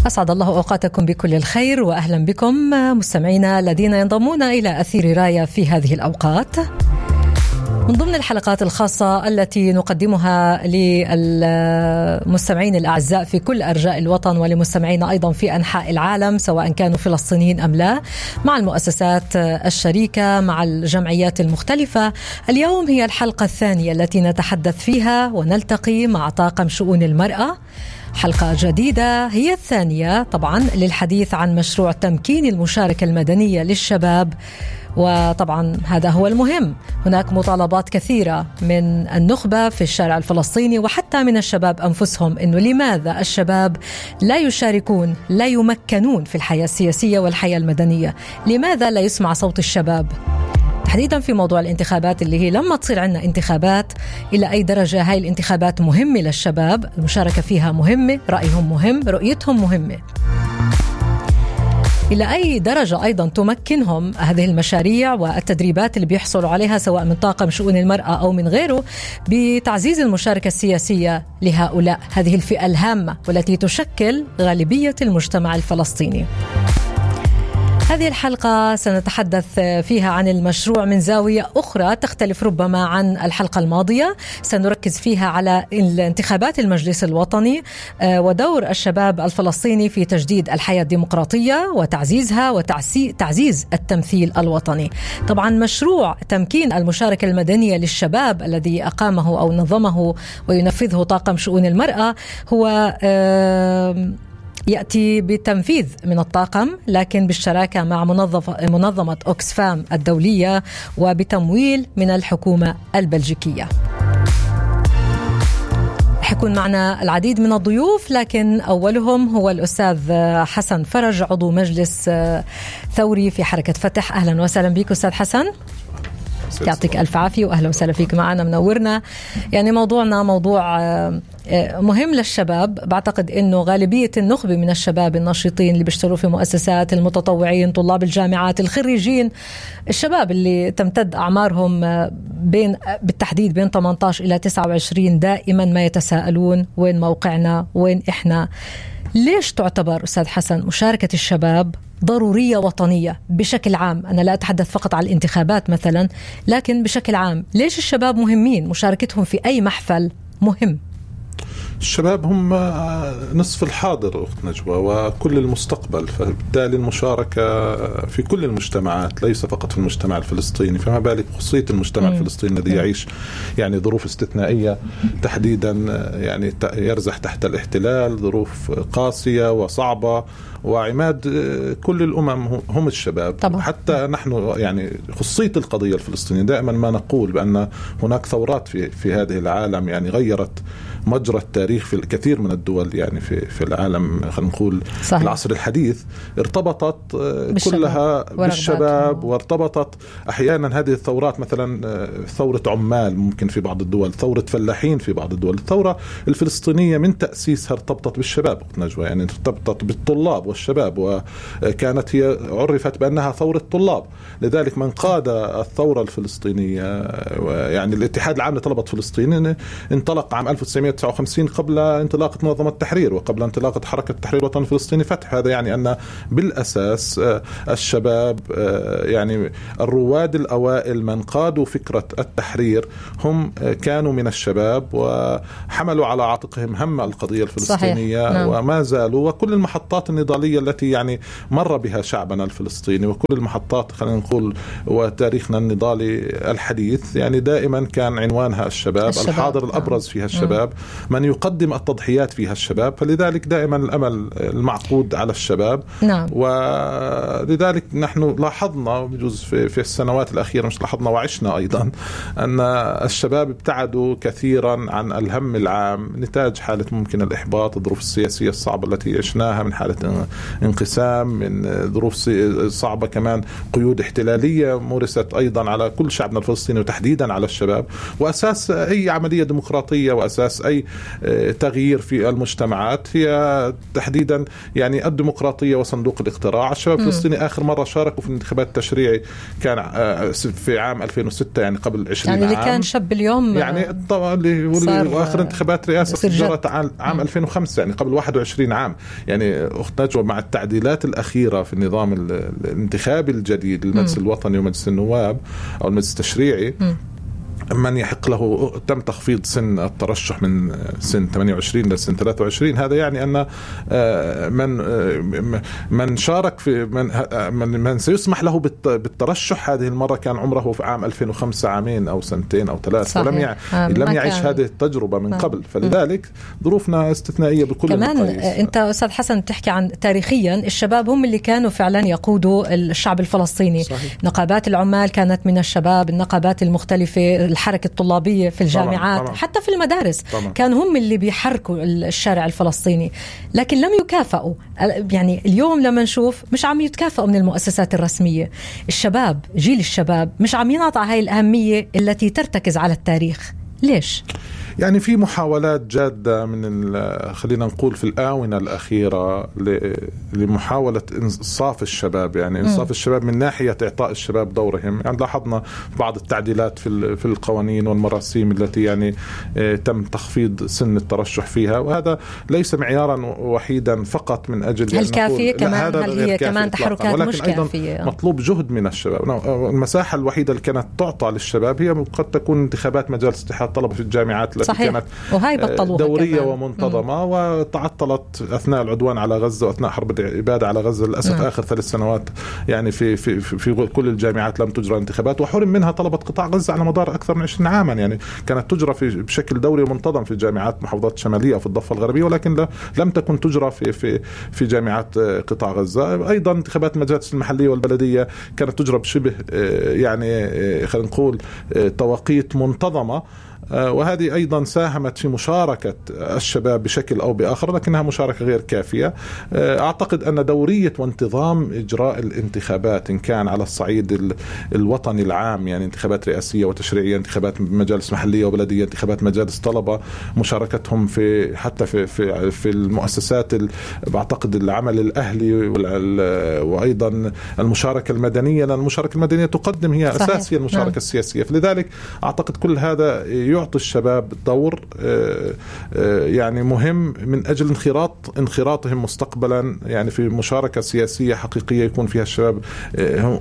أسعد الله أوقاتكم بكل الخير وأهلا بكم مستمعينا الذين ينضمون إلى أثير راية في هذه الأوقات من ضمن الحلقات الخاصة التي نقدمها للمستمعين الأعزاء في كل أرجاء الوطن ولمستمعين أيضا في أنحاء العالم سواء كانوا فلسطينيين أم لا، مع المؤسسات الشريكة مع الجمعيات المختلفة. اليوم هي الحلقة الثانية التي نتحدث فيها ونلتقي مع طاقم شؤون المرأة، حلقة جديدة هي الثانية طبعا للحديث عن مشروع تمكين المشاركة المدنية للشباب. وطبعا هذا هو المهم، هناك مطالبات كثيرة من النخبة في الشارع الفلسطيني وحتى من الشباب أنفسهم إنه لماذا الشباب لا يشاركون لا يمكنون في الحياة السياسية والحياة المدنية، لماذا لا يسمع صوت الشباب تحديدا في موضوع الانتخابات اللي هي لما تصير عندنا انتخابات إلى أي درجة هاي الانتخابات مهمة للشباب، المشاركة فيها مهمة، رأيهم مهم، رؤيتهم مهمة، إلى أي درجة أيضا تمكنهم هذه المشاريع والتدريبات اللي بيحصلوا عليها سواء من طاقم شؤون المرأة أو من غيره بتعزيز المشاركة السياسية لهؤلاء هذه الفئة الهامة والتي تشكل غالبية المجتمع الفلسطيني. هذه الحلقة سنتحدث فيها عن المشروع من زاوية أخرى تختلف ربما عن الحلقة الماضية، سنركز فيها على انتخابات المجلس الوطني ودور الشباب الفلسطيني في تجديد الحياة الديمقراطية وتعزيزها وتعزيز التمثيل الوطني. طبعا مشروع تمكين المشاركة المدنية للشباب الذي أقامه أو نظمه وينفذه طاقم شؤون المرأة هو يأتي بتنفيذ من الطاقم لكن بالشراكة مع منظمة أوكسفام الدولية وبتمويل من الحكومة البلجيكية. حيكون معنا العديد من الضيوف لكن أولهم هو الأستاذ حسن فرج عضو مجلس ثوري في حركة فتح. أهلا وسهلا بك أستاذ حسن، يعطيك ألف عافية وأهلا وسهلا فيك معنا منورنا. يعني موضوعنا موضوع مهم للشباب، بعتقد أنه غالبية النخبة من الشباب الناشطين اللي بيشتغلوا في مؤسسات، المتطوعين، طلاب الجامعات، الخريجين، الشباب اللي تمتد أعمارهم بالتحديد بين 18 إلى 29 دائما ما يتساءلون وين موقعنا، وين إحنا. ليش تعتبر أستاذ حسن مشاركة الشباب ضرورية وطنية بشكل عام؟ أنا لا أتحدث فقط على الانتخابات مثلا لكن بشكل عام، ليش الشباب مهمين؟ مشاركتهم في أي محفل مهم. الشباب هم نصف الحاضر أخت نجوى وكل المستقبل، فبالتالي المشاركة في كل المجتمعات ليس فقط في المجتمع الفلسطيني، فما بالك خصوصية المجتمع الفلسطيني الذي يعيش يعني ظروف استثنائية تحديدا، يعني يرزح تحت الاحتلال، ظروف قاسية وصعبة، وعماد كل الأمم هم الشباب طبعا. حتى نحن يعني خصية القضية الفلسطينية دائما ما نقول بأن هناك ثورات في هذه العالم يعني غيرت مجرى التاريخ في الكثير من الدول، يعني في العالم خلينا نقول في العصر الحديث ارتبطت كلها بالشباب، وارتبطت أحيانا هذه الثورات مثلا ثورة عمال ممكن في بعض الدول، ثورة فلاحين في بعض الدول. الثورة الفلسطينية من تأسيسها ارتبطت بالشباب نجوى، يعني ارتبطت بالطلاب والشباب، وكانت هي عرفت بأنها ثورة طلاب. لذلك من قاد الثورة الفلسطينية يعني الاتحاد العام لطلبة فلسطين انطلق عام 1959 قبل انطلاقة منظمة التحرير وقبل انطلاقة حركة التحرير الوطني الفلسطيني فتح. هذا يعني أن بالأساس الشباب يعني الرواد الأوائل من قادوا فكرة التحرير هم كانوا من الشباب وحملوا على عاتقهم هم القضية الفلسطينية. نعم. وما زالوا، وكل المحطات النضالية التي يعني مر بها شعبنا الفلسطيني وكل المحطات خلينا نقول وتاريخنا النضالي الحديث يعني دائما كان عنوانها الشباب. الحاضر الأبرز فيها الشباب، من يقدم التضحيات فيها الشباب، فلذلك دائما الأمل المعقود على الشباب. نعم. ولذلك نحن لاحظنا بجوز في السنوات الأخيرة، مش لاحظنا وعشنا أيضا، أن الشباب ابتعدوا كثيرا عن الهم العام نتاج حالة ممكن الإحباط، الظروف السياسية الصعبة التي عشناها، من حالة انقسام، من ظروف صعبة كمان، قيود احتلالية مورست أيضا على كل شعبنا الفلسطيني وتحديدا على الشباب. وأساس أي عملية ديمقراطية وأساس أي تغيير في المجتمعات هي تحديدا يعني الديمقراطية وصندوق الاقتراع. الشباب الفلسطيني آخر مرة شاركوا في الانتخابات التشريعي كان في عام 2006 يعني قبل 20 يعني عام. اللي كان شاب اليوم يعني طبعا وآخر انتخابات رئاسة جرت عام 2005 يعني قبل 21 عام. يعني أخت نجوى مع التعديلات الأخيرة في النظام الانتخابي الجديد للمجلس الوطني ومجلس النواب أو المجلس التشريعي من يحق له تم تخفيض سن الترشح من سن 28 لسن 23. هذا يعني أن من شارك في من سيسمح له بالترشح هذه المرة كان عمره في عام 2005 عامين أو سنتين أو 3 ولم يعيش هذه التجربة من قبل. فلذلك ظروفنا استثنائية بكل كمان المقاييس. أنت أستاذ حسن تحكي عن تاريخيا الشباب هم اللي كانوا فعلا يقودوا الشعب الفلسطيني. صحيح. نقابات العمال كانت من الشباب، النقابات المختلفة، الحركة الطلابية في الجامعات طبعاً. حتى في المدارس طبعاً. كانوا هم اللي بيحركوا الشارع الفلسطيني، لكن لم يكافئوا. يعني اليوم لما نشوف مش عم يتكافئوا من المؤسسات الرسمية. الشباب، جيل الشباب مش عم ينعطى هاي الأهمية التي ترتكز على التاريخ. ليش؟ يعني في محاولات جادة من خلينا نقول في الآونة الأخيرة لمحاولة إنصاف الشباب، يعني إنصاف الشباب من ناحية إعطاء الشباب دورهم. يعني لاحظنا بعض التعديلات في القوانين والمراسيم التي يعني تم تخفيض سن الترشح فيها، وهذا ليس معيارا وحيدا فقط من أجل هل كافية كمان، هل هي كمان تحركات مش كافية. مطلوب جهد من الشباب. المساحة الوحيدة اللي كانت تعطى للشباب هي قد تكون انتخابات مجالس اتحاد الطلبة في الجامعات التي كانت دورية كمان ومنتظمة وتعطلت أثناء العدوان على غزة وأثناء حرب الإبادة على غزة. للأسف آخر 3 سنوات يعني في كل الجامعات لم تجرى انتخابات، وحرم منها طلبة قطاع غزة على مدار أكثر من 20 عاما. يعني كانت تجرى بشكل دوري ومنتظم في جامعات محافظات الشمالية وفي الضفة الغربية، ولكن لم تكن تجرى في جامعات قطاع غزة. أيضا انتخابات المجالس المحلية والبلدية كانت تجرى بشبه يعني خلينا نقول توقيت منتظمة، وهذه أيضا ساهمت في مشاركة الشباب بشكل أو بآخر، لكنها مشاركة غير كافية. أعتقد أن دورية وانتظام إجراء الانتخابات إن كان على الصعيد الوطني العام، يعني انتخابات رئاسية وتشريعية، انتخابات مجالس محلية وبلدية، انتخابات مجالس طلبة، مشاركتهم حتى في المؤسسات بعتقد العمل الأهلي وأيضا المشاركة المدنية، لأن المشاركة المدنية تقدم هي أساسية المشاركة السياسية. فلذلك أعتقد كل هذا يعطي الشباب دور يعني مهم من أجل انخراطهم مستقبلا يعني في مشاركة سياسية حقيقية يكون فيها الشباب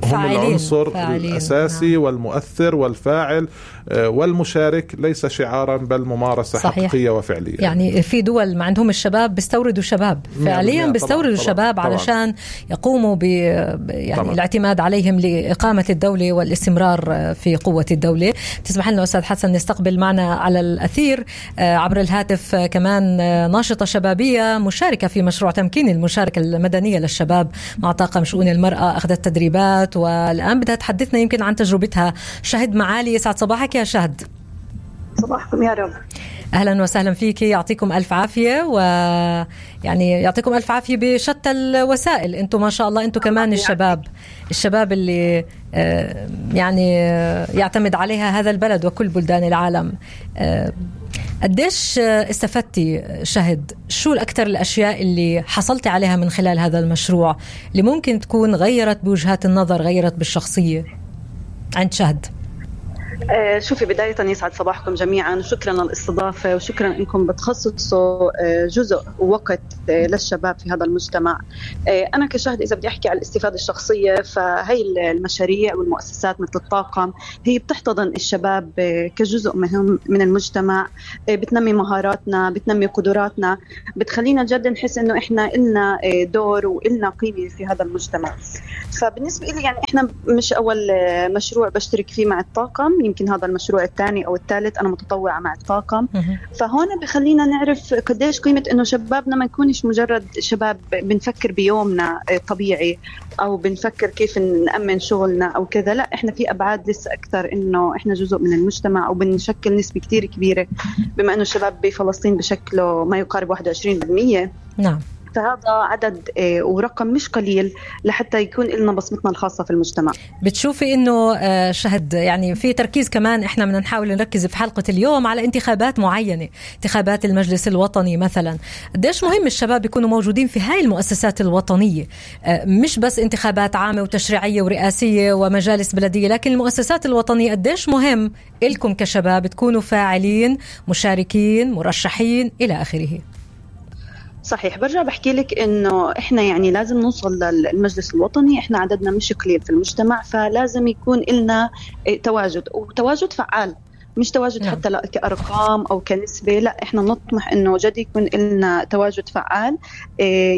هم العنصر الأساسي والمؤثر والفاعل والمشارك، ليس شعارا بل ممارسة صحيح. حقيقية وفعلية. يعني في دول ما عندهم الشباب بيستوردوا شباب فعليا، بيستوردوا الشباب علشان يقوموا يعني الاعتماد عليهم لإقامة الدولة والاستمرار في قوة الدولة. تسمح لنا أستاذ حسن نستقبل معنا على الأثير عبر الهاتف كمان ناشطة شبابية مشاركة في مشروع تمكين المشاركة المدنية للشباب مع طاقم شؤون المرأة، أخذت تدريبات والآن بدها تحدثنا يمكن عن تجربتها. شهد معالي، يسعد صباحك يا شهد. صباحكم يا رب. أهلا وسهلا فيك، يعطيكم ألف عافية، ويعني يعطيكم ألف عافية بشتى الوسائل. أنتم ما شاء الله أنتم كمان الشباب اللي يعني يعتمد عليها هذا البلد وكل بلدان العالم. قديش استفدتي شهد؟ شو الأكثر الأشياء اللي حصلتي عليها من خلال هذا المشروع اللي ممكن تكون غيرت بوجهات النظر، غيرت بالشخصية عند شهد؟ شوفي، بداية يسعد صباحكم جميعا، شكرا للاستضافة وشكرا انكم بتخصصوا جزء وقت للشباب في هذا المجتمع. انا كشهد اذا بدي احكي على الاستفادة الشخصية، فهي المشاريع والمؤسسات مثل الطاقم هي بتحتضن الشباب كجزء مهم من المجتمع، بتنمي مهاراتنا، بتنمي قدراتنا، بتخلينا جد نحس انه احنا إلنا دور وإلنا قيمة في هذا المجتمع. فبالنسبة لي يعني احنا مش اول مشروع بشترك فيه مع الطاقم، يمكن هذا المشروع الثاني أو الثالث، أنا متطوعة مع الطاقم. فهون بخلينا نعرف قديش قيمة إنه شبابنا ما يكونش مجرد شباب بنفكر بيومنا طبيعي أو بنفكر كيف نأمن شغلنا أو كذا، لا إحنا في أبعاد لسه أكثر، إنه إحنا جزء من المجتمع أو بنشكل نسبة كتير كبيرة، بما إنه الشباب بفلسطين بشكله ما يقارب 21%. نعم. فهذا عدد ورقم مش قليل لحتى يكون لنا بصمتنا الخاصة في المجتمع. بتشوفي إنه شهد يعني في تركيز كمان، إحنا بدنا نحاول نركز في حلقة اليوم على انتخابات معينة، انتخابات المجلس الوطني مثلا. قديش مهم الشباب يكونوا موجودين في هاي المؤسسات الوطنية، مش بس انتخابات عامة وتشريعية ورئاسية ومجالس بلدية، لكن المؤسسات الوطنية قديش مهم إلكم كشباب تكونوا فاعلين، مشاركين، مرشحين إلى آخره. صحيح. برجع بحكي لك إنه إحنا يعني لازم نوصل للمجلس الوطني، إحنا عددنا مش قليل في المجتمع، فلازم يكون لنا تواجد، وتواجد فعال، مش تواجد حتى كأرقام أو كنسبة، لا إحنا نطمح إنه جد يكون لنا تواجد فعال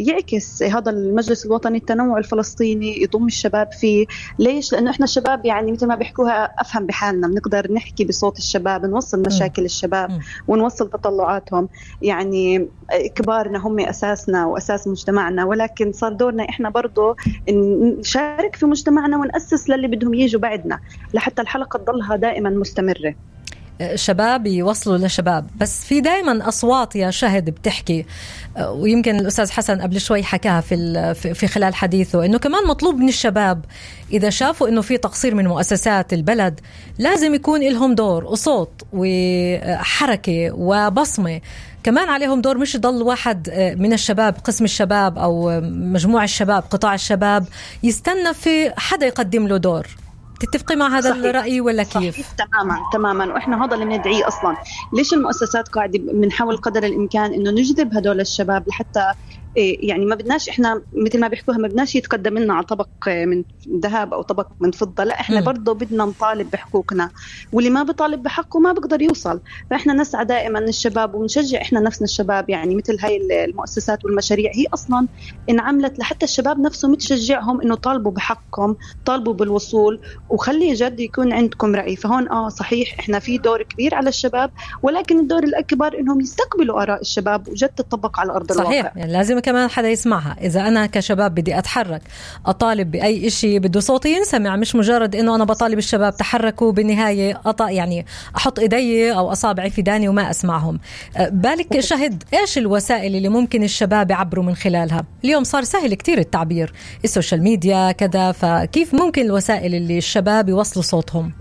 يعكس هذا المجلس الوطني التنوع الفلسطيني، يضم الشباب فيه. ليش؟ لأنه إحنا الشباب يعني مثل ما بيحكوها أفهم بحالنا، بنقدر نحكي بصوت الشباب، نوصل مشاكل الشباب ونوصل تطلعاتهم. يعني كبارنا هم أساسنا وأساس مجتمعنا، ولكن صار دورنا إحنا برضو نشارك في مجتمعنا ونأسس للي بدهم يجوا بعدنا لحتى الحلقة تضلها دائما مستمرة. شباب يوصلوا لشباب، بس في دائما أصوات يا شهد بتحكي، ويمكن الأستاذ حسن قبل شوي حكاها في خلال حديثه، إنه كمان مطلوب من الشباب إذا شافوا إنه في تقصير من مؤسسات البلد لازم يكون لهم دور وصوت وحركة وبصمة. كمان عليهم دور، مش يضل واحد من الشباب، قسم الشباب أو مجموعة الشباب، قطاع الشباب يستنى في حدا يقدم له دور. تتفقي مع هذا الرأي ولا كيف؟ صحيح. تماما. وإحنا هذا اللي بندعيه أصلا. ليش المؤسسات قاعدة بنحاول قدر الإمكان إنه نجذب هدول الشباب لحتى يعني ما بدناش إحنا مثل ما بيحكوها ما بدناش يتقدم لنا على طبق من ذهب أو طبق من فضة، لا إحنا برضو بدنا نطالب بحقوقنا، واللي ما بيطالب بحقه ما بقدر يوصل. فإحنا نسعى دائما الشباب ونشجع إحنا نفسنا الشباب، يعني مثل هاي المؤسسات والمشاريع هي أصلا انعملت لحتى الشباب نفسهم تشجعهم إنه طالبوا بحقهم، طالبوا بالوصول، وخلي جد يكون عندكم رأي. فهون صحيح إحنا في دور كبير على الشباب، ولكن الدور الأكبر إنهم يستقبلوا آراء الشباب وجد تطبق على أرض الواقع. صحيح. يعني لازم كمان حدا يسمعها. إذا أنا كشباب بدي أتحرك، أطالب بأي إشي، بده صوتي ينسمع، مش مجرد إنه أنا بطالب الشباب تحركوا بالنهاية يعني أحط إيدي أو أصابعي في داني وما أسمعهم. بالك شهد، إيش الوسائل اللي ممكن الشباب يعبروا من خلالها؟ اليوم صار سهل كتير التعبير، السوشيال ميديا كذا، فكيف ممكن الوسائل اللي الشباب يوصلوا صوتهم؟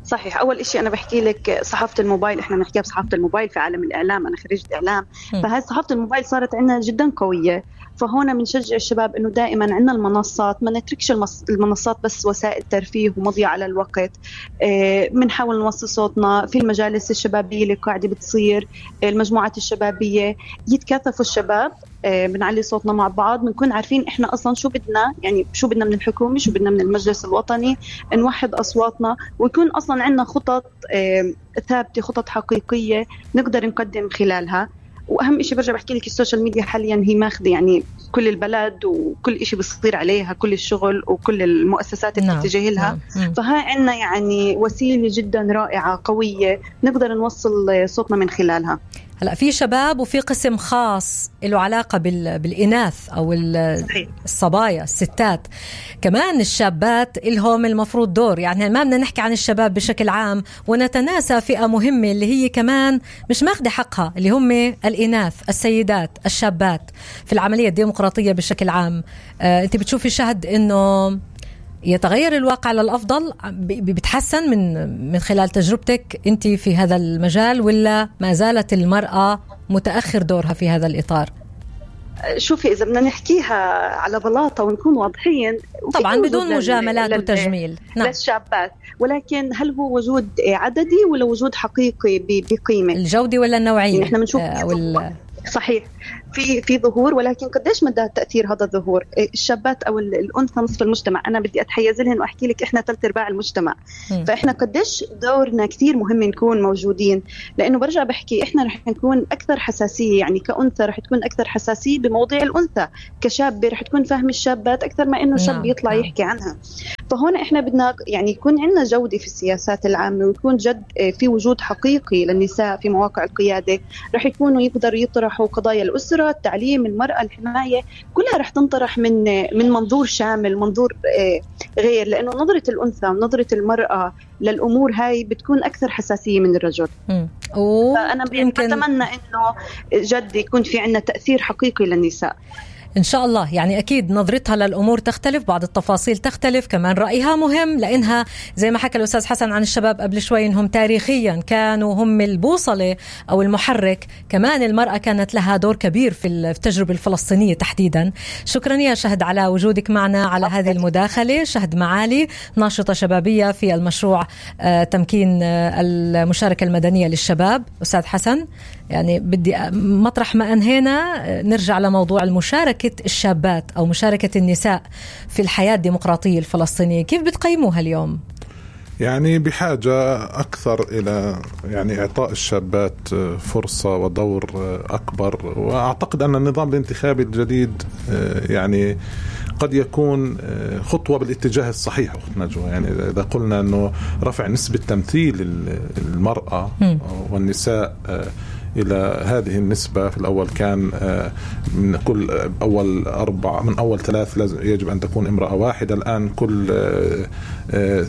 صحيح. أول إشي أنا بحكي لك صحافة الموبايل، إحنا بنحكيها بصحافة الموبايل في عالم الإعلام، أنا خريجة إعلام، فهذه صحافة الموبايل صارت عندنا جدا قوية. فهنا بنشجع الشباب إنه دائما عندنا المنصات، ما نتركش المنصات بس وسائل ترفيه ومضيع على الوقت. بنحاول نوصل صوتنا في المجالس الشبابية اللي قاعدة بتصير، المجموعات الشبابية يتكاتفوا الشباب، بنعلي صوتنا مع بعض، بنكون عارفين إحنا أصلا شو بدنا، يعني شو بدنا من الحكومة، شو بدنا من المجلس الوطني، نوحد أصواتنا ويكون أصلا عندنا خطط ثابتة، خطط حقيقية نقدر نقدم خلالها. وأهم إشي برجع بحكي لك، السوشيال ميديا حاليا هي ماخذة يعني كل البلد وكل إشي بيصير عليها، كل الشغل وكل المؤسسات اللي بتتجه لها. فهاي عنا يعني وسيلة جدا رائعة قوية نقدر نوصل صوتنا من خلالها. هلا في شباب وفي قسم خاص له علاقة بالإناث أو الصبايا الستات، كمان الشابات إلهم المفروض دور. يعني ما بدنا نحكي عن الشباب بشكل عام ونتناسى فئة مهمة اللي هي كمان مش ماخدة حقها، اللي هم الإناث، السيدات، الشابات في العملية الديمقراطية بشكل عام. أنت بتشوفي شهد إنه يتغير الواقع للأفضل، بتحسن من خلال تجربتك أنت في هذا المجال، ولا ما زالت المرأة متأخر دورها في هذا الإطار؟ شوفي، إذا بدنا نحكيها على بلاطة ونكون واضحين، طبعا بدون مجاملات وتجميل للشابات، ولكن هل هو وجود عددي ولا وجود حقيقي بقيمة؟ الجودة ولا النوعية؟ يعني احنا بنشوف صحيح في ظهور، ولكن قديش مدى تأثير هذا الظهور؟ الشابات أو الأنثى نصف المجتمع، أنا بدي أتحيز لهن وأحكي لك إحنا 3/4 المجتمع. فإحنا قديش دورنا كثير مهم نكون موجودين، لأنه برجع بحكي إحنا رح نكون أكثر حساسية، يعني كأنثى رح تكون أكثر حساسية بمواضيع الأنثى، كشاب رح تكون فاهم الشابات أكثر ما إنه شاب يطلع يحكي عنها. فهنا إحنا بدنا يعني يكون عندنا جودة في السياسات العامة، ويكون جد في وجود حقيقي للنساء في مواقع القيادة، رح يكونوا يقدروا يطرحوا قضايا الأسرة، التعليم، المرأة، الحماية، كلها رح تنطرح من منظور شامل، منظور غير، لأنه نظرة الأنثى ونظرة المرأة للأمور هاي بتكون أكثر حساسية من الرجل. فأنا أتمنى إنه جد يكون في عنا تأثير حقيقي للنساء إن شاء الله. يعني أكيد نظرتها للأمور تختلف، بعض التفاصيل تختلف، كمان رأيها مهم، لأنها زي ما حكى الأستاذ حسن عن الشباب قبل شوي إنهم تاريخيا كانوا هم البوصلة أو المحرك. كمان المرأة كانت لها دور كبير في التجربة الفلسطينية تحديدا. شكرا يا شهد على وجودك معنا على هذه المداخلة. شهد معالي، ناشطة شبابية في المشروع تمكين المشاركة المدنية للشباب. أستاذ حسن، يعني بدي مطرح ما أنهينا نرجع لموضوع المشاركة الشابات أو مشاركة النساء في الحياة الديمقراطية الفلسطينية. كيف بتقيموها اليوم؟ يعني بحاجة أكثر إلى يعني إعطاء الشابات فرصة ودور أكبر. وأعتقد أن النظام الانتخابي الجديد يعني قد يكون خطوة بالاتجاه الصحيح أخت نجوى. يعني إذا قلنا أنه رفع نسبة تمثيل المرأة والنساء إلى هذه النسبة، في الأول كان من كل من أول 3 لازم يجب أن تكون امرأة واحدة، الآن كل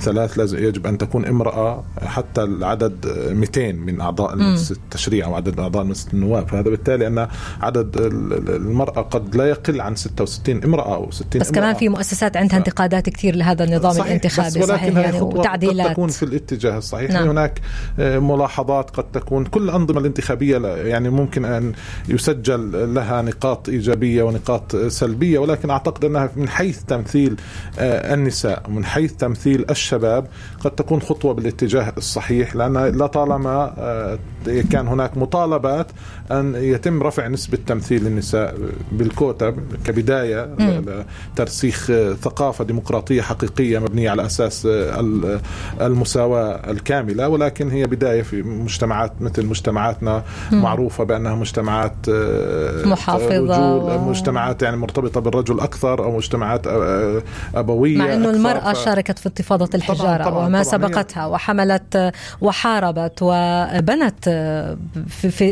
3 لازم يجب أن تكون امرأة، حتى العدد 200 من أعضاء مجلس التشريع أو عدد أعضاء مجلس النواب. فهذا بالتالي أن عدد المرأة قد لا يقل عن 66 امرأة أو 60 بس امرأة. كمان في مؤسسات عندها انتقادات كثير لهذا النظام الانتخابي. صحيح، يعني وتعديلات قد تكون في الاتجاه الصحيح. نعم. هناك ملاحظات قد تكون. كل الأنظمة الانتخابية يعني ممكن أن يسجل لها نقاط إيجابية ونقاط سلبية، ولكن أعتقد أنها من حيث تمثيل النساء ومن حيث تمثيل الشباب قد تكون خطوة بالاتجاه الصحيح، لأن لا طالما كان هناك مطالبات أن يتم رفع نسبة تمثيل النساء بالكوتا كبداية لترسيخ ثقافة ديمقراطية حقيقية مبنية على أساس المساواة الكاملة. ولكن هي بداية في مجتمعات مثل مجتمعاتنا معروفة بأنها مجتمعات محافظة، مجتمعات يعني مرتبطة بالرجل أكثر، أو مجتمعات أبوية، مع أنه المرأة شاركت في انتفاضة الحجارة طبعاً وما سبقتها وحملت وحاربت وبنت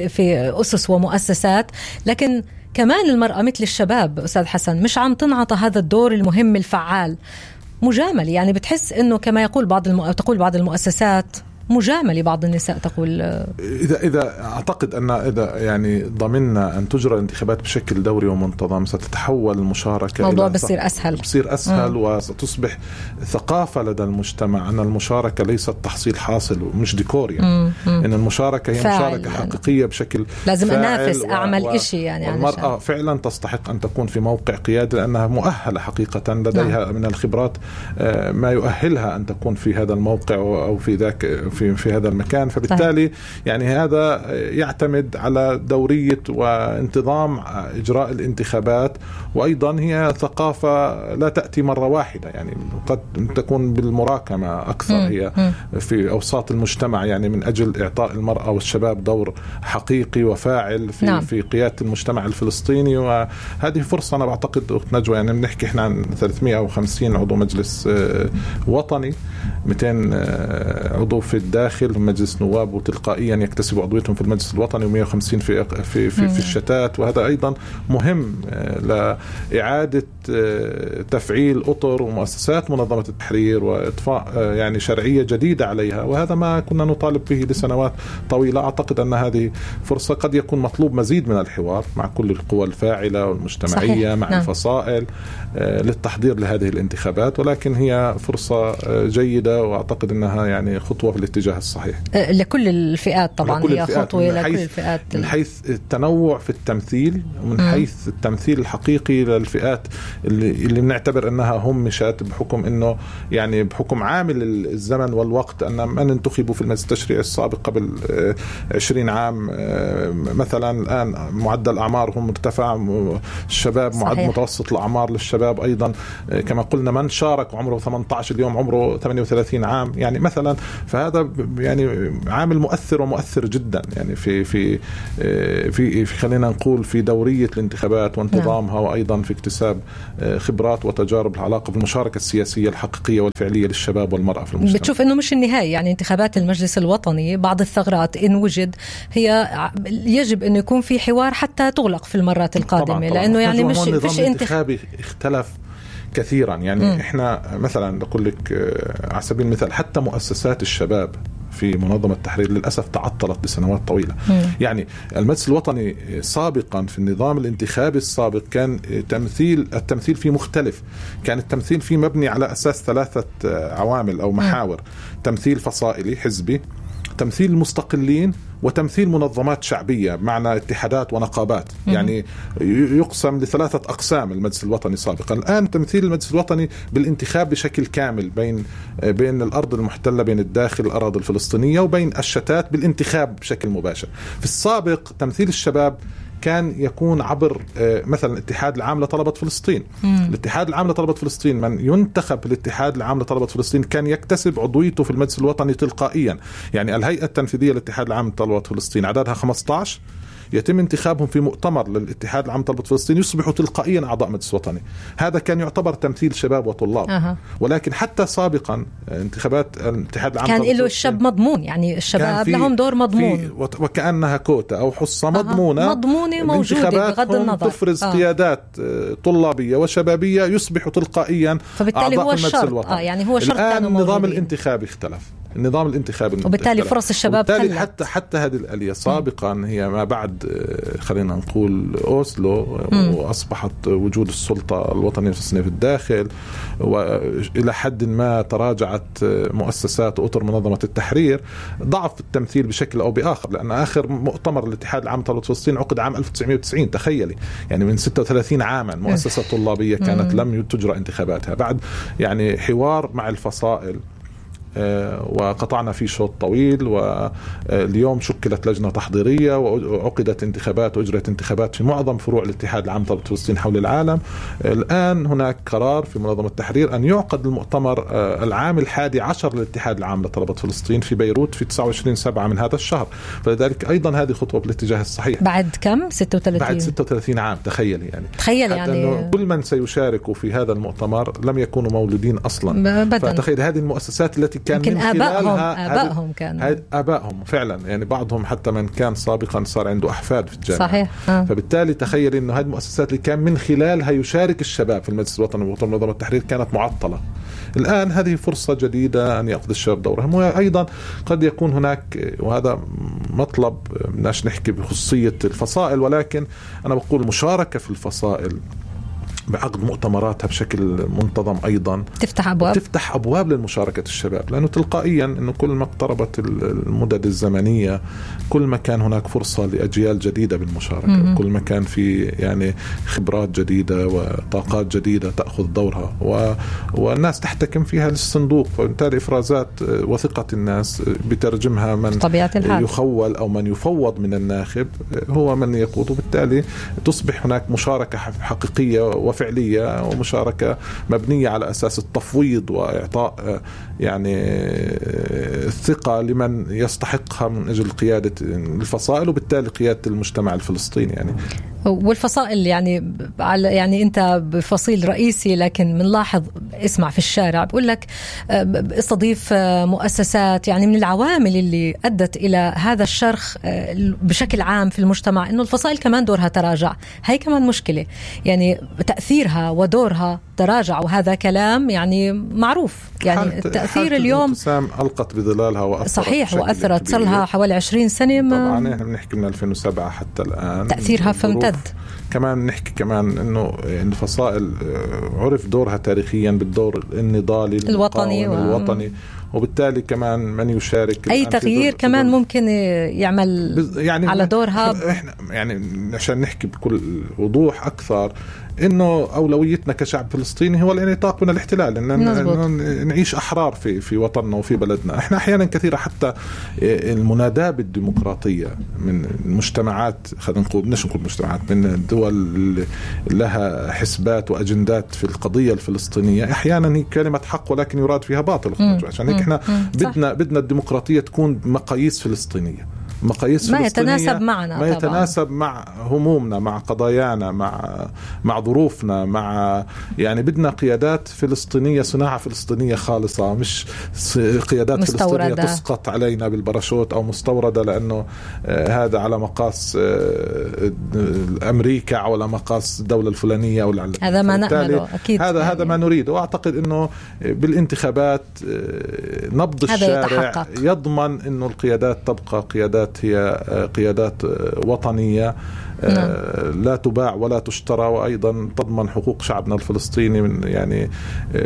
في أسس ومؤسسات. لكن كمان المرأة مثل الشباب أستاذ حسن مش عم تنعطى هذا الدور المهم الفعال، مجامل. يعني بتحس أنه كما يقول تقول بعض المؤسسات مجامل بعض النساء تقول. إذا أعتقد أن إذا يعني ضمننا أن تجرى الانتخابات بشكل دوري ومنتظم ستتحول المشاركة، الموضوع بصير أسهل وستصبح ثقافة لدى المجتمع أن المشاركة ليست تحصيل حاصل ومش ديكور. يعني إن المشاركة هي مشاركة حقيقية بشكل لازم أنافس أعمل إشي. يعني المرأة فعلا تستحق أن تكون في موقع قيادي، لأنها مؤهلة حقيقة، لديها من الخبرات ما يؤهلها أن تكون في هذا الموقع أو في ذاك في هذا المكان. فبالتالي يعني هذا يعتمد على دورية وانتظام إجراء الانتخابات، وأيضا هي ثقافة لا تأتي مرة واحدة، يعني قد تكون بالمراكمة أكثر. هي في أوساط المجتمع، يعني من أجل إعطاء المرأة والشباب دور حقيقي وفاعل في قيادة المجتمع الفلسطيني. وهذه فرصة أنا بعتقد أخت نجوى، يعني بنحكي إحنا عن 350 عضو مجلس وطني، 200 عضو في الداخل مجلس نواب، وتلقائيا يكتسبوا عضويتهم في المجلس الوطني، و150 في الشتات. وهذا أيضا مهم لإعادة تفعيل أطر ومؤسسات منظمة التحرير وإضفاء يعني شرعية جديدة عليها، وهذا ما كنا نطالب به لسنوات طويلة. أعتقد أن هذه فرصة قد يكون مطلوب مزيد من الحوار مع كل القوى الفاعلة والمجتمعية. صحيح. مع الفصائل للتحضير لهذه الانتخابات، ولكن هي فرصة جيدة، وأعتقد أنها يعني خطوة في الاتجاه الصحيح لكل الفئات. طبعا هي خطوة لكل الفئات من حيث التنوع في التمثيل، ومن حيث التمثيل الحقيقي للفئات اللي بنعتبر أنها همشت بحكم أنه يعني بحكم عامل الزمن والوقت، أن من انتخبوا في المجلس التشريعي السابق قبل 20 عام مثلا، الآن معدل أعمارهم مرتفع، الشباب متوسط الأعمار للشباب أيضا كما قلنا من شارك عمره 18 اليوم عمره 38 عام يعني مثلا. فهذا يعني عامل مؤثر ومؤثر جدا، يعني في خلينا نقول في دورية الانتخابات وانتظامها، وأيضا في اكتساب خبرات وتجارب العلاقة بالمشاركة السياسية الحقيقية والفعلية للشباب والمرأة في المجتمع. بتشوف إنه مش النهاية، يعني انتخابات المجلس الوطني بعض الثغرات إن وجد هي يجب إنه يكون في حوار حتى تغلق في المرات القادمة. طبعاً. لأنه يعني مش فيش انتخابي اختلف كثيرا. يعني احنا مثلا بقول لك على سبيل المثال حتى مؤسسات الشباب في منظمة التحرير للأسف تعطلت لسنوات طويلة. يعني المجلس الوطني سابقا في النظام الانتخابي السابق كان التمثيل فيه مختلف. كان التمثيل فيه مبني على أساس 3 عوامل أو محاور: تمثيل فصائلي حزبي، تمثيل المستقلين، وتمثيل منظمات شعبية بمعنى اتحادات ونقابات. يعني يقسم ل3 أقسام المجلس الوطني سابقا. الآن تمثيل المجلس الوطني بالانتخاب بشكل كامل بين الأرض المحتلة، بين الداخل الأراضي الفلسطينية، وبين الشتات بالانتخاب بشكل مباشر. في السابق تمثيل الشباب كان يكون عبر مثلا الاتحاد العام لطلبة فلسطين. الاتحاد العام لطلبة فلسطين، من ينتخب الاتحاد العام لطلبة فلسطين كان يكتسب عضويته في المجلس الوطني تلقائيا. يعني الهيئة التنفيذية للاتحاد العام لطلبة فلسطين عددها 15، يتم انتخابهم في مؤتمر للاتحاد العام لطلبة فلسطين، يصبحوا تلقائيا أعضاء مجلس وطني. هذا كان يعتبر تمثيل شباب وطلاب. ولكن حتى سابقا انتخابات الاتحاد العام كان له الشاب مضمون، يعني الشباب لهم دور مضمون، وكأنها كوتا أو حصة مضمونة موجودة بغض النظر. تفرز قيادات طلابية وشبابية يصبحوا تلقائيا أعضاء في المجلس الوطني. يعني هو شرط. الآن النظام الانتخابي اختلف، النظام الانتخابي، وبالتالي فرص الشباب قلت. حتى هذه الآلية سابقا هي ما بعد خلينا نقول أوسلو، وأصبحت وجود السلطة الوطنية الفلسطينية في الداخل، وإلى حد ما تراجعت مؤسسات وأطر منظمة التحرير، ضعف التمثيل بشكل أو بآخر. لأن آخر مؤتمر الاتحاد العام لطلبة فلسطين عقد عام 1990. تخيلي، يعني من 36 عاما مؤسسة طلابية كانت لم تجرى انتخاباتها بعد يعني حوار مع الفصائل، وقطعنا فيه شوط طويل. واليوم شكلت لجنة تحضيرية وعقدت انتخابات وأجرت انتخابات في معظم فروع الاتحاد العام لطلبة فلسطين حول العالم. الآن هناك قرار في منظمة التحرير أن يعقد المؤتمر العام 11 للاتحاد العام لطلبة فلسطين في بيروت في 29/7 من هذا الشهر. فلذلك أيضا هذه خطوة بالاتجاه الصحيح. بعد كم؟ 36؟ بعد 36 عام. تخيل يعني كل من سيشاركوا في هذا المؤتمر لم يكونوا مولودين أصلا. فتخيل هذه المؤسسات التي كان يمكن آبائهم كانوا آبائهم فعلا، يعني بعضهم حتى من كان سابقا صار عنده أحفاد في الجامعة. صحيح. فبالتالي تخيل إنه هذه المؤسسات اللي كان من خلالها يشارك الشباب في المجلس الوطني ومنظمة التحرير كانت معطلة. الآن هذه فرصة جديدة أن يأخذ الشباب دورهم. وأيضا قد يكون هناك، وهذا مطلب بدناش نحكي بخصوصية الفصائل، ولكن أنا بقول مشاركة في الفصائل بعقد مؤتمراتها بشكل منتظم أيضا تفتح أبواب للمشاركة الشباب، لأنه تلقائيا أنه كل ما اقتربت المدد الزمنية كل ما كان هناك فرصة لأجيال جديدة بالمشاركة، كل ما كان في يعني خبرات جديدة وطاقات جديدة تأخذ دورها والناس تحتكم فيها للصندوق. فبالتالي إفرازات وثقة الناس بترجمها من يخول أو من يفوض من الناخب هو من يقود، وبالتالي تصبح هناك مشاركة حقيقية وفعلية ومشاركة مبنية على أساس التفويض وإعطاء يعني الثقة لمن يستحقها من أجل قيادة الفصائل وبالتالي قيادة المجتمع الفلسطيني. يعني والفصائل يعني أنت بفصيل رئيسي، لكن منلاحظ اسمع في الشارع بقول لك استضيف مؤسسات. يعني من العوامل اللي أدت إلى هذا الشرخ بشكل عام في المجتمع إنه الفصائل كمان دورها تراجع. هاي كمان مشكلة، يعني تأثيرها ودورها تراجع، وهذا كلام يعني معروف. يعني التأثير اليوم ألقت بظلالها وأثرت. صحيح، وأثرت صار لها حوالي 20 سنة. طبعا احنا بنحكي من 2007 حتى الآن تأثيرها فامتد. كمان نحكي كمان إنه الفصائل عرف دورها تاريخيا بالدور النضالي الوطني وبالتالي كمان من يشارك أي تغيير كمان ممكن يعمل يعني على دورها. إحنا يعني عشان نحكي بكل وضوح أكثر إنه أولويتنا كشعب فلسطيني هو الانعتاق من الاحتلال، إن نعيش أحرار في وطننا وفي بلدنا. إحنا أحيانا كثيرة حتى المناداة بالديمقراطية من المجتمعات، خلينا نقول بدناش نقول مجتمعات، من الدول لها حسبات وأجندات في القضية الفلسطينية، أحيانا هي كلمة حق ولكن يراد فيها باطل. عشان هيك إحنا بدنا الديمقراطية تكون مقاييس فلسطينية، مقاييس ما يتناسب معنا، ما يتناسب مع همومنا، مع قضايانا، مع ظروفنا، مع يعني بدنا قيادات فلسطينية، صناعة فلسطينية خالصة، مش قيادات مستوردة فلسطينية تسقط علينا بالباراشوت أو مستوردة لأنه هذا على مقاس أمريكا أو على مقاس الدولة الفلانية أو هذا ما نأمله أكيد. هذا ما نريد. وأعتقد أنه بالانتخابات نبض الشارع يضمن أنه القيادات تبقى قيادات هي قيادات وطنية لا تباع ولا تشترى، وأيضا تضمن حقوق شعبنا الفلسطيني من يعني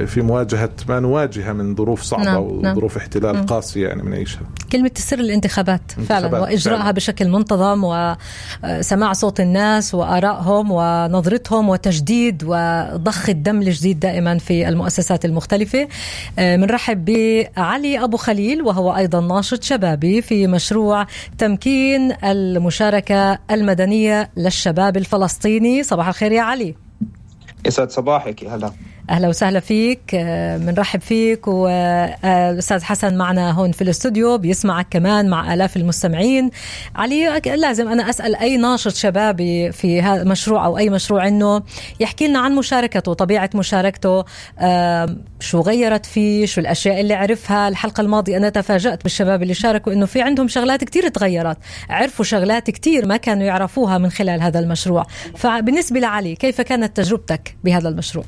في مواجهة ما نواجهها من ظروف صعبة وظروف احتلال قاسية يعني بنعيشها. كلمة سر الانتخابات فعلا، وإجراءها بشكل منتظم، وسماع صوت الناس وآرائهم ونظرتهم، وتجديد وضخ الدم الجديد دائما في المؤسسات المختلفة. منرحب بعلي أبو خليل، وهو أيضا ناشط شبابي في مشروع تمكين المشاركة المدنية للشباب الفلسطيني. صباح الخير يا علي. يسعد صباحك. أهلا وسهلا فيك، منرحب فيك. والأستاذ حسن معنا هون في الاستوديو بيسمعك كمان مع آلاف المستمعين. علي، لازم أنا أسأل أي ناشط شبابي في هذا المشروع أو أي مشروع إنه يحكي لنا عن مشاركته، طبيعة مشاركته، شو غيرت فيه، شو الأشياء اللي عرفها. الحلقة الماضية أنا تفاجأت بالشباب اللي شاركوا إنه في عندهم شغلات كتير تغيرت، عرفوا شغلات كتير ما كانوا يعرفوها من خلال هذا المشروع. فبالنسبة لعلي، كيف كانت تجربتك بهذا المشروع؟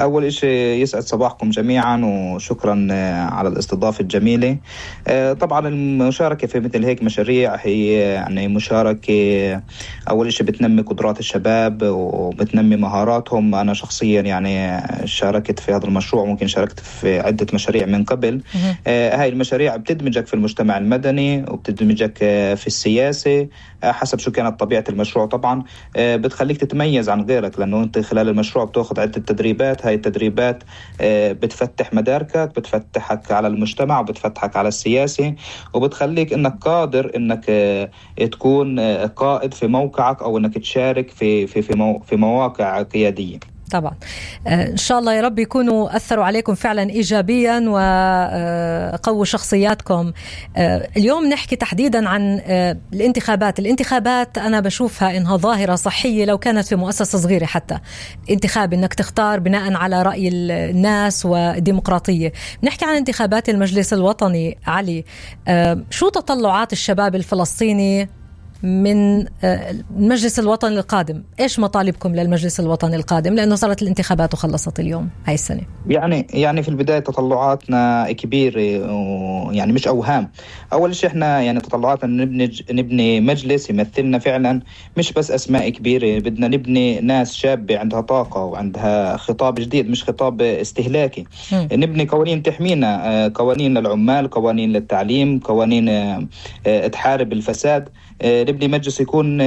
أول إشي يسعد صباحكم جميعا، وشكرا على الاستضافة الجميلة. طبعا المشاركة في مثل هيك مشاريع هي يعني مشاركة أول إشي بتنمي قدرات الشباب وبتنمي مهاراتهم. أنا شخصيا يعني شاركت في هذا المشروع، ممكن شاركت في عدة مشاريع من قبل. هاي المشاريع بتدمجك في المجتمع المدني وبتدمجك في السياسة حسب شو كانت طبيعة المشروع. طبعا بتخليك تتميز عن غيرك، لأنه أنت خلال المشروع بتأخذ عدة تدريبات. هاي التدريبات بتفتح مداركك، بتفتحك على المجتمع وبتفتحك على السياسة، وبتخليك انك قادر انك تكون قائد في موقعك او انك تشارك في مواقع قيادية. طبعا إن شاء الله يا رب يكونوا أثروا عليكم فعلا إيجابيا وقووا شخصياتكم. اليوم نحكي تحديدا عن الانتخابات أنا بشوفها إنها ظاهرة صحية لو كانت في مؤسسة صغيرة، حتى انتخاب إنك تختار بناء على رأي الناس والديمقراطية. نحكي عن انتخابات المجلس الوطني. علي، شو تطلعات الشباب الفلسطيني من المجلس الوطني القادم؟ إيش مطالبكم للمجلس الوطني القادم، لأنه صارت الانتخابات وخلصت اليوم هاي السنة؟ يعني في البداية تطلعاتنا كبيرة، يعني مش أوهام. أول شيء إحنا يعني تطلعاتنا نبني مجلس يمثلنا فعلا، مش بس أسماء كبيرة. بدنا نبني ناس شابة عندها طاقة وعندها خطاب جديد، مش خطاب استهلاكي. نبني قوانين تحمينا، قوانين للعمال، قوانين للتعليم، قوانين تحارب الفساد. نبني مجلس يكون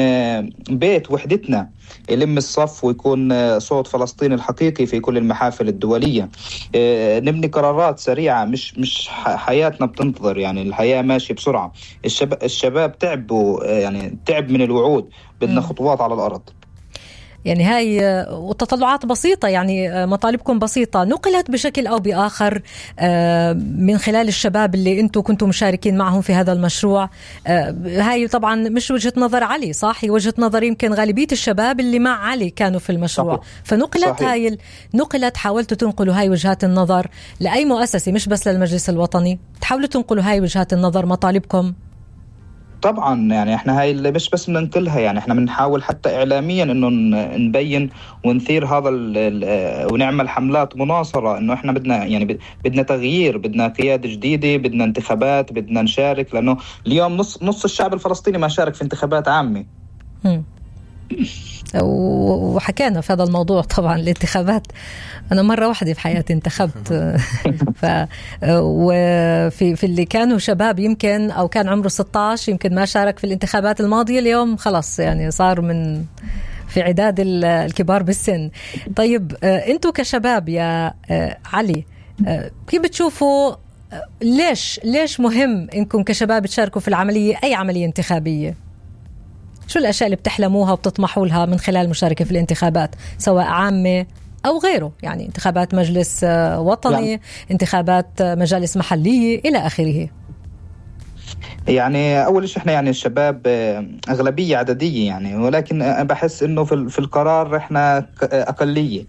بيت وحدتنا، يلم الصف ويكون صوت فلسطين الحقيقي في كل المحافل الدولية. نبني قرارات سريعة، مش حياتنا بتنتظر، يعني الحياة ماشية بسرعة. الشباب تعب من الوعود، بدنا خطوات على الأرض. يعني هاي وتطلعات بسيطة، يعني مطالبكم بسيطة نقلت بشكل أو بآخر من خلال الشباب اللي أنتم كنتم مشاركين معهم في هذا المشروع. هاي طبعا مش وجهة نظر علي، صح؟ هي وجهة نظر يمكن غالبية الشباب اللي مع علي كانوا في المشروع. صحيح. فنقلت صحيح. نقلت، حاولتوا تنقلوا هاي وجهات النظر لأي مؤسسة، مش بس للمجلس الوطني، تحاولوا تنقلوا هاي وجهات النظر، مطالبكم. طبعا يعني احنا هاي اللي مش بس بننقلها، يعني احنا بنحاول حتى اعلاميا انه نبين ونثير هذا ونعمل حملات مناصرة انه احنا بدنا تغيير، بدنا قيادة جديدة، بدنا انتخابات، بدنا نشارك، لانه اليوم نص الشعب الفلسطيني ما شارك في انتخابات عامة. وحكينا في هذا الموضوع. طبعا الانتخابات أنا مرة واحدة في حياتي انتخبت وفي اللي كانوا شباب يمكن أو كان عمره 16 يمكن ما شارك في الانتخابات الماضية، اليوم خلاص يعني صار من في عداد الكبار بالسن. طيب أنتوا كشباب يا علي، كيف بتشوفوا ليش مهم إنكم كشباب تشاركوا في العملية، أي عملية انتخابية؟ شو الأشياء اللي بتحلموها وبتطمحوا لها من خلال المشاركة في الانتخابات سواء عامة أو غيره؟ يعني انتخابات مجلس وطني، انتخابات مجالس محلية إلى آخره. يعني أول شيء إحنا يعني الشباب أغلبية عددية يعني، ولكن بحس إنه في القرار إحنا أقلية.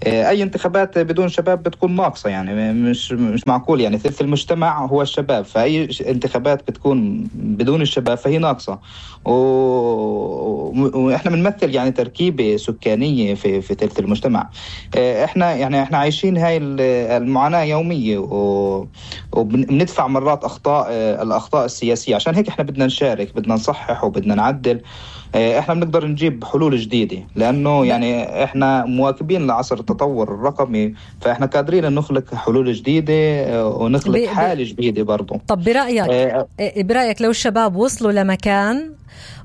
أي انتخابات بدون شباب بتكون ناقصة، يعني مش معقول، يعني ثلث المجتمع هو الشباب، فأي انتخابات بتكون بدون الشباب فهي ناقصة. وإحنا بنمثل يعني تركيبة سكانية في ثلث المجتمع. إحنا عايشين هاي المعاناة يومية، وبندفع مرات الأخطاء السياسية. عشان هيك احنا بدنا نشارك، بدنا نصحح وبدنا نعدل. احنا بنقدر نجيب حلول جديدة، لأنه يعني احنا مواكبين لعصر التطور الرقمي، فاحنا قادرين نخلق حلول جديدة ونخلق حالة جديدة برضو. طب برأيك لو الشباب وصلوا لمكان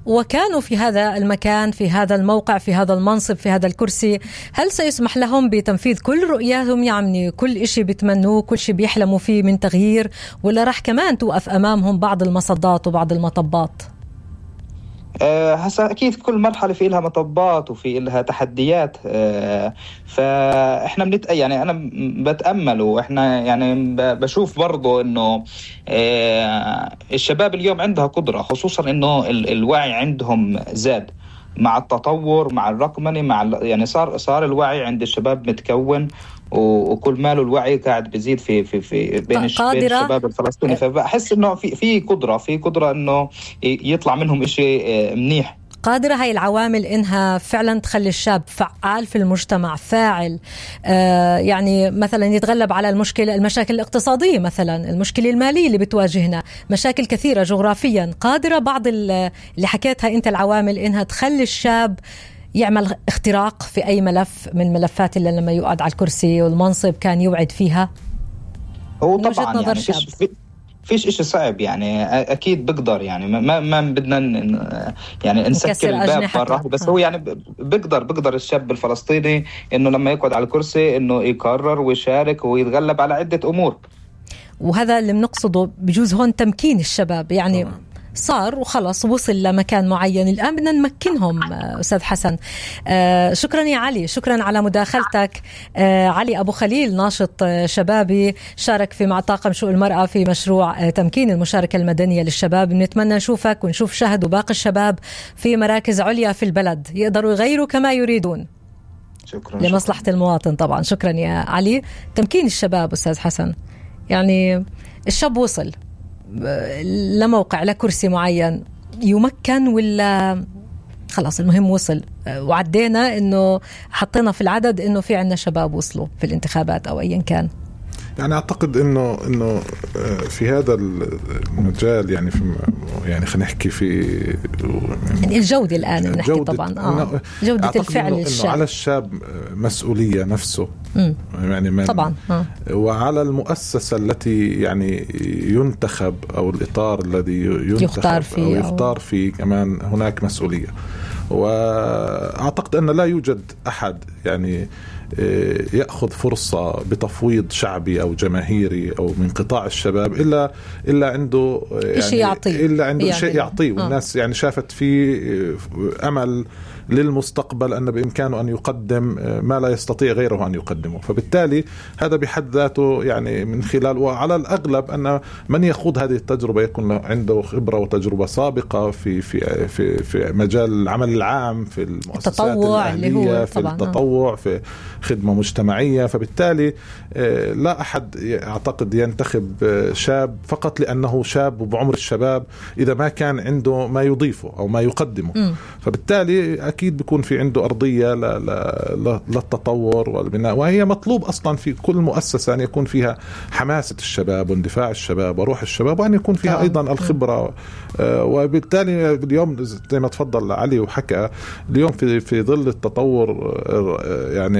وكانوا في هذا المكان، في هذا الموقع، في هذا المنصب، في هذا الكرسي، هل سيسمح لهم بتنفيذ كل رؤياتهم، يعني كل إشي بيتمنوه، كل شيء بيحلموا فيه من تغيير، ولا راح كمان توقف أمامهم بعض المصدات وبعض المطبات؟ هسا أكيد كل مرحلة في لها مطبات وفي لها تحديات. فإحنا يعني أنا بتأمل، وإحنا يعني بشوف برضو إنه الشباب اليوم عندها قدرة، خصوصا إنه الوعي عندهم زاد مع التطور، مع الرقمنة، يعني صار الوعي عند الشباب متكون، وكل ماله الوعي قاعد بيزيد في بين الشباب الفلسطيني. فبحس انه في قدرة انه يطلع منهم اشي منيح. قادرة هاي العوامل إنها فعلا تخلي الشاب فعال في المجتمع، فاعل، يعني مثلا يتغلب على المشاكل الاقتصادية، مثلا المشكلة المالية اللي بتواجهنا، مشاكل كثيرة جغرافيا. قادرة بعض اللي حكيتها أنت العوامل إنها تخلي الشاب يعمل اختراق في أي ملف من ملفات اللي لما يقعد على الكرسي والمنصب كان يوعد فيها. هو طبعا يعني فيش إشي صعب، يعني أكيد بقدر، يعني ما بدنا يعني نسكر الباب مرة، بس هو يعني بقدر الشاب الفلسطيني إنه لما يقعد على الكرسي إنه يقرر ويشارك ويتغلب على عدة أمور. وهذا اللي بنقصده بجوز هون تمكين الشباب، يعني صار وخلص وصل لمكان معين، الآن بدنا نمكنهم. أستاذ حسن، شكرا يا علي، شكرا على مداخلتك. علي أبو خليل ناشط شبابي شارك مع طاقم شؤون المرأة في مشروع تمكين المشاركة المدنية للشباب. بنتمنى نشوفك ونشوف شهد وباقي الشباب في مراكز عليا في البلد يقدروا يغيروا كما يريدون. شكرا لمصلحة المواطن طبعا. شكرا يا علي. تمكين الشباب أستاذ حسن، يعني الشاب وصل لموقع لكرسي معين يمكن، ولا خلاص المهم وصل وعدينا انه حطينا في العدد انه في عنا شباب وصلوا في الانتخابات او ايا كان؟ يعني اعتقد انه في هذا المجال، يعني خلينا نحكي في يعني الجودة الآن نحكي طبعا جودة الفعل إنه على الشاب مسؤولية نفسه يعني طبعا وعلى المؤسسة التي يعني ينتخب أو الإطار الذي يختار فيه كمان هناك مسؤولية. وأعتقد أن لا يوجد أحد يعني يأخذ فرصة بتفويض شعبي أو جماهيري أو من قطاع الشباب إلا عنده يعني شيء يعطيه والناس يعني شافت فيه أمل للمستقبل، أن بإمكانه أن يقدم ما لا يستطيع غيره أن يقدمه. فبالتالي هذا بحد ذاته يعني من خلال، وعلى الأغلب أن من يخوض هذه التجربة يكون عنده خبرة وتجربة سابقة في مجال العمل العام، في المؤسسات الأهلية، في التطوع، في خدمة مجتمعية. فبالتالي لا أحد أعتقد ينتخب شاب فقط لأنه شاب وبعمر الشباب إذا ما كان عنده ما يضيفه أو ما يقدمه. فبالتالي أكيد بيكون في عنده أرضية للتطور والبناء، وهي مطلوب أصلا في كل مؤسسة أن يكون فيها حماسة الشباب واندفاع الشباب وروح الشباب، وأن يكون فيها أيضا الخبرة. وبالتالي اليوم زي ما تفضل علي وحكى، اليوم في ظل التطور يعني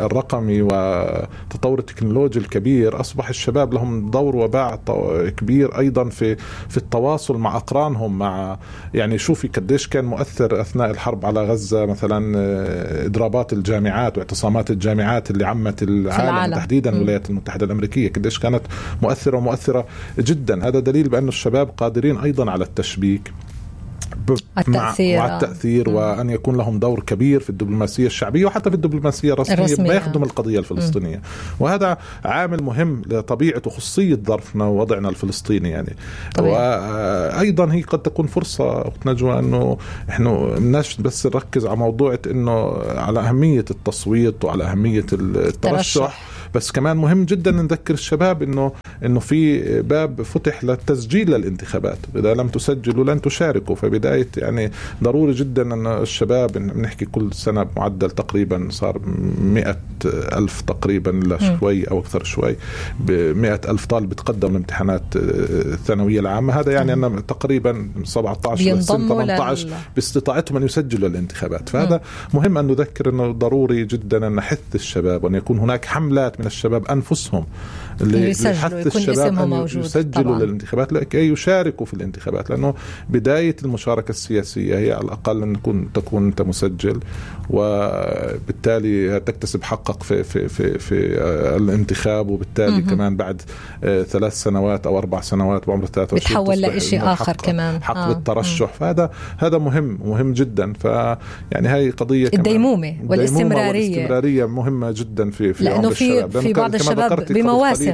الرقمي وتطور التكنولوجي الكبير، أصبح الشباب لهم دور وباع كبير أيضا في التواصل مع أقرانهم، مع يعني شوفي قديش كان مؤثر أثناء الحرب على غزة مثلا إضرابات الجامعات واعتصامات الجامعات اللي عمت العالم تحديدا الولايات المتحدة الأمريكية، قديش كانت مؤثرة جدا. هذا دليل بأن الشباب قادرين أيضا على التشبيك وعلى التأثير وأن يكون لهم دور كبير في الدبلوماسية الشعبية وحتى في الدبلوماسية الرسمية بيخدم القضية الفلسطينية. وهذا عامل مهم لطبيعة وخصوصية ظرفنا ووضعنا الفلسطيني يعني. وأيضا هي قد تكون فرصة أخت نجوى أنه إحنا مناش بس نركز على موضوع أنه على أهمية التصويت وعلى أهمية الترشح، بس كمان مهم جدا نذكر الشباب انه في باب فتح للتسجيل للانتخابات، اذا لم تسجلوا لن تشاركوا. فبداية يعني ضروري جدا ان الشباب بنحكي كل سنة بمعدل تقريبا صار 100,000 تقريبا لشوي او اكثر شوي، 100,000 طالب بتقدم الامتحانات الثانوية العامة. هذا يعني ان تقريبا 17 سنة 18 باستطاعتهم ان يسجلوا الانتخابات. فهذا مهم ان نذكر انه ضروري جدا ان نحث الشباب وان يكون هناك حملات من الشباب أنفسهم اللي يحث الشباب أن يسجلوا للانتخابات لكي يشاركوا في الانتخابات، لأنه بداية المشاركة السياسية هي على الأقل أن تكون أنت مسجل، وبالتالي تكتسب حقك في الانتخاب، وبالتالي كمان بعد 3 سنوات أو 4 سنوات بعمر 23 بتحول لشيء آخر كمان حق بالترشح. فهذا مهم جدا. فيعني هاي قضية الديمومة والاستمرارية مهمة جدا في عمر الشباب. في بعض الشباب بمواسم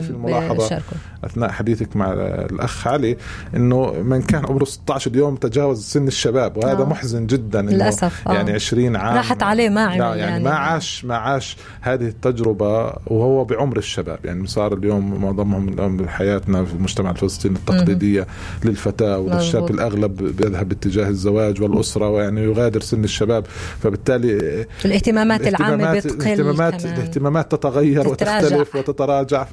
أثناء حديثك مع الأخ علي أنه من كان عمره 16 يوم تجاوز سن الشباب، وهذا محزن جدا للأسف. يعني 20 عام راحت عليه ما يعني ما عاش هذه التجربة وهو بعمر الشباب. يعني صار اليوم معظمهم حياتنا في المجتمع الفلسطيني التقليدية للفتاة والشاب الأغلب بيذهب باتجاه الزواج والأسرة ويعني يغادر سن الشباب، فبالتالي الاهتمامات العامة بتقل، الاهتمامات تتغير وتختلف وتتراجع.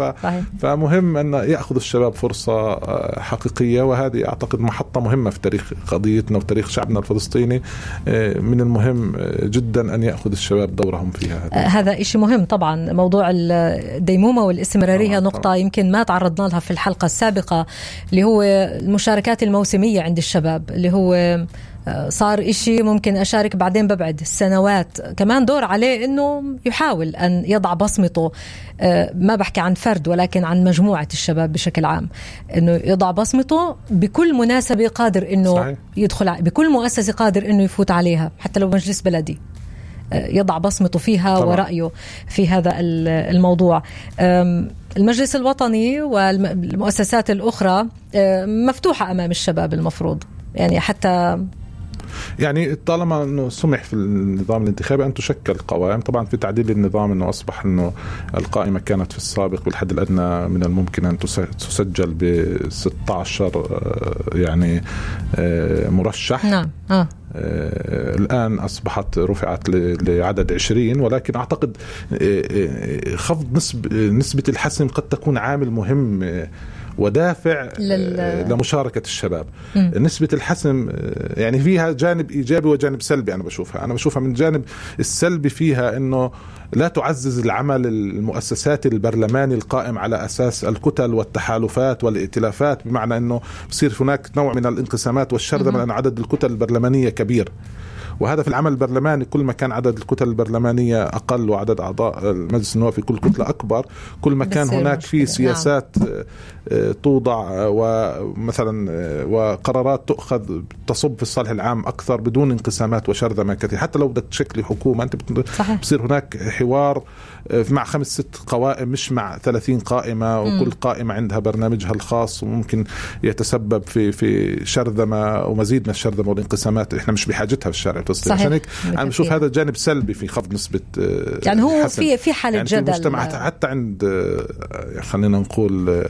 فمهم أن يأخذ الشباب فرصة حقيقية، وهذه أعتقد محطة مهمة في تاريخ قضيتنا وتاريخ شعبنا الفلسطيني. من المهم جدا أن يأخذ الشباب دورهم فيها. هذا إشي مهم طبعا. موضوع الديمومة والاستمرارية نقطة يمكن ما تعرضنا لها في الحلقة السابقة، اللي هو المشاركات الموسمية عند الشباب، اللي هو صار إشي ممكن أشارك بعدين ببعد السنوات. كمان دور عليه أنه يحاول أن يضع بصمته، ما بحكي عن فرد ولكن عن مجموعة الشباب بشكل عام، أنه يضع بصمته بكل مناسبة قادر أنه يدخل، بكل مؤسسة قادر أنه يفوت عليها، حتى لو مجلس بلدي يضع بصمته فيها طبعا. ورأيه في هذا الموضوع. المجلس الوطني والمؤسسات الأخرى مفتوحة أمام الشباب المفروض، يعني حتى يعني طالما أنه سمح في النظام الانتخابي أن تشكل قوائم. طبعا في تعديل النظام أنه أصبح أنه القائمة كانت في السابق بالحد الأدنى من الممكن أن تسجل ب16 يعني مرشح. نعم. الآن أصبحت رفعت لعدد 20، ولكن أعتقد خفض نسبة الحسم قد تكون عامل مهم ودافع لمشاركة الشباب. نسبة الحسم يعني فيها جانب إيجابي وجانب سلبي. أنا بشوفها من الجانب السلبي فيها أنه لا تعزز العمل المؤسسات البرلماني القائم على أساس الكتل والتحالفات والائتلافات، بمعنى أنه بصير هناك نوع من الانقسامات والشرذمة لأن عدد الكتل البرلمانية كبير. وهذا في العمل البرلماني كل ما كان عدد الكتل البرلمانية أقل وعدد أعضاء المجلس النواب في كل كتلة أكبر، كل ما كان هناك في سياسات توضع ومثلا وقرارات تؤخذ تصب في الصالح العام أكثر بدون انقسامات وشرذمة كثير. حتى لو بدك تشكلي حكومة أنت بصير هناك حوار مع 5-6 قوائم مش مع 30 قائمة، وكل قائمة عندها برنامجها الخاص، وممكن يتسبب في شرذمة ومزيد من الشرذمة والانقسامات احنا مش بحاجتها في الشارع الفلسطيني. عشان هيك أنا بشوف هذا جانب سلبي في خفض نسبة يعني هو في حالة يعني جدل في المجتمعات حتى عند خلينا نقول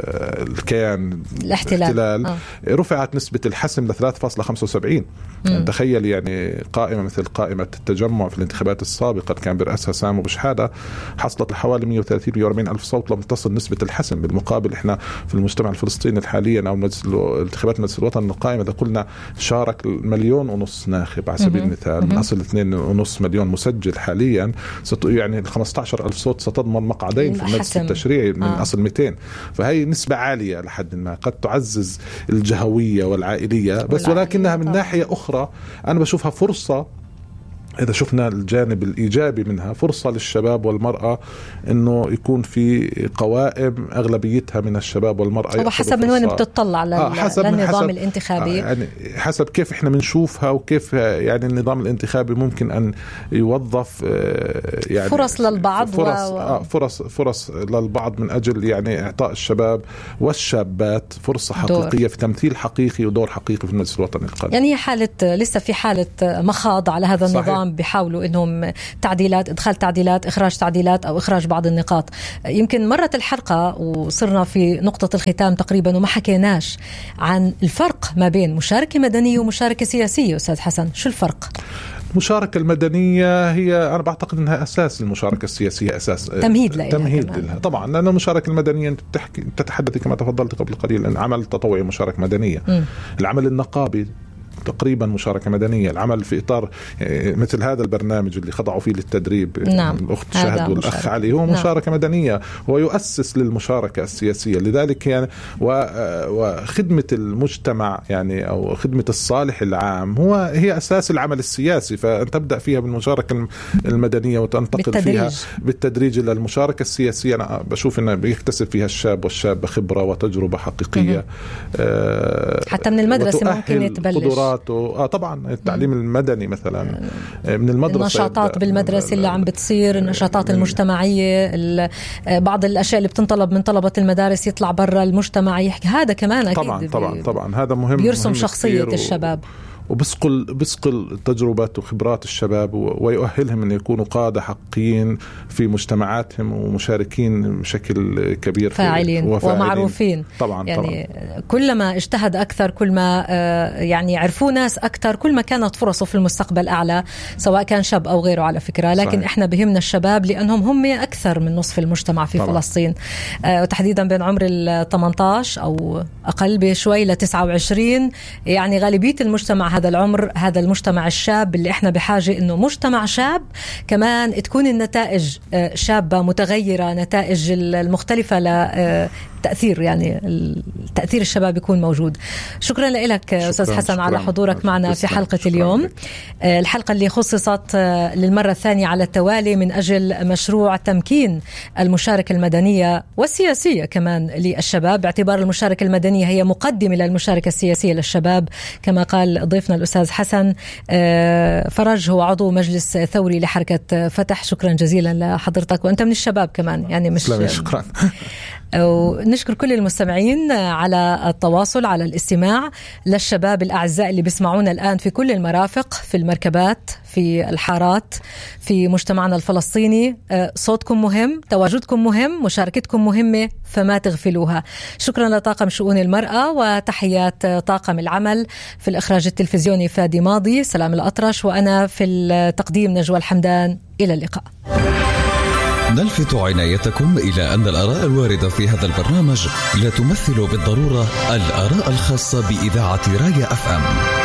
الكيان الاحتلال رفعت نسبة الحسم ل 3.75. يعني تخيل يعني قائمة مثل قائمة التجمع في الانتخابات السابقة كان برأسها سامو بشحادة حصلت لحوالي 130-140 ألف صوت لم تصل نسبة الحسم. بالمقابل احنا في المجتمع الفلسطيني حاليا أو انتخابات مجلس الوطن القائمة إذا قلنا شارك 1.5 مليون ناخب على سبيل المثال من أصل 2.5 مليون مسجل حاليا، يعني 15 ألف صوت ستضمن مقعدين في المجلس التشريعي من أصل 200. فهي نسبة عالية لحد ما قد تعزز الجهوية والعائلية بس، ولكنها من ناحية أخرى أنا بشوفها فرصة إذا شفنا الجانب الإيجابي منها فرصة للشباب والمرأة إنه يكون في قوائم أغلبيتها من الشباب والمرأة. هو حسب من وين بتطلع للنظام الانتخابي، يعني حسب كيف إحنا بنشوفها وكيف يعني النظام الانتخابي ممكن أن يوظف يعني فرص للبعض، فرص للبعض من أجل يعني إعطاء الشباب والشابات فرصة حقيقية في تمثيل حقيقي ودور حقيقي في المجلس الوطني القادم. يعني هي حالة لسه في حالة مخاض على هذا النظام، بيحاولوا انهم تعديلات، ادخال تعديلات، اخراج تعديلات او اخراج بعض النقاط. يمكن مرت الحلقة وصرنا في نقطة الختام تقريبا وما حكيناش عن الفرق ما بين مشاركة مدنية ومشاركة سياسية. أستاذ حسن، شو الفرق؟ المشاركة المدنية هي أنا بعتقد أنها أساس للمشاركة السياسية، أساس تمهيد لها طبعا، لأن المشاركة المدنية تتحدثي كما تفضلت قبل قليل أن عمل تطوعي مشاركة مدنية. العمل النقابي تقريبا مشاركة مدنية، العمل في إطار مثل هذا البرنامج اللي خضعوا فيه للتدريب الأخت شهد والأخ علي هو مشاركة مدنية، هو يؤسس للمشاركة السياسية. لذلك يعني وخدمة المجتمع يعني أو خدمة الصالح العام هي أساس العمل السياسي، فأن تبدأ فيها بالمشاركة المدنية وتنتقل فيها بالتدريج إلى المشاركة السياسية. أنا بشوف أنه بيكتسب فيها الشاب والشابة خبرة وتجربة حقيقية، حتى من المدرسة ممكن يتبلش طبعا التعليم المدني مثلا من المدرسة، النشاطات بالمدرسة اللي عم بتصير، النشاطات المجتمعية، بعض الأشياء اللي بتنطلب من طلبة المدارس يطلع برا المجتمع يحكي، هذا كمان أكيد طبعا هذا مهم، بيرسم شخصية الشباب وبسقل تجربة وخبرات الشباب ويؤهلهم أن يكونوا قادة حقيقيين في مجتمعاتهم ومشاركين بشكل كبير، فاعلين ومعروفين. يعني كلما اجتهد أكثر، كل ما يعني عرفوا ناس أكثر، كل ما كانت فرصه في المستقبل أعلى، سواء كان شاب أو غيره على فكرة. لكن صحيح. إحنا بهمنا الشباب لأنهم هم أكثر من نصف المجتمع في فلسطين، وتحديدا بين عمر 18 أو أقل بشوي ل 29. يعني غالبية المجتمع هذا العمر، هذا المجتمع الشاب اللي احنا بحاجة انه مجتمع شاب كمان تكون النتائج شابة متغيرة، نتائج المختلفة لتأثير، يعني التأثير الشباب يكون موجود. شكرا لك أستاذ حسن على حضورك معنا في حلقة اليوم، الحلقة اللي خصصت للمرة الثانية على التوالي من أجل مشروع تمكين المشاركة المدنية والسياسية كمان للشباب، باعتبار المشاركة المدنية هي مقدمة للمشاركة السياسية للشباب. كما قال ضيفنا الأستاذ حسن فرج، هو عضو مجلس ثوري لحركة فتح. شكرا جزيلا لحضرتك، وأنت من الشباب كمان، يعني مش شكرا. ونشكر كل المستمعين على التواصل، على الاستماع، للشباب الأعزاء اللي بيسمعونا الآن في كل المرافق، في المركبات، في الحارات، في مجتمعنا الفلسطيني. صوتكم مهم، تواجدكم مهم، مشاركتكم مهمة، فما تغفلوها. شكرا لطاقم شؤون المرأة، وتحيات طاقم العمل في الإخراج التلفزيوني فادي ماضي، سلام الأطرش، وأنا في التقديم نجوى الحمدان. إلى اللقاء. نلفت عنايتكم إلى أن الآراء الواردة في هذا البرنامج لا تمثل بالضرورة الآراء الخاصة بإذاعة رايا FM.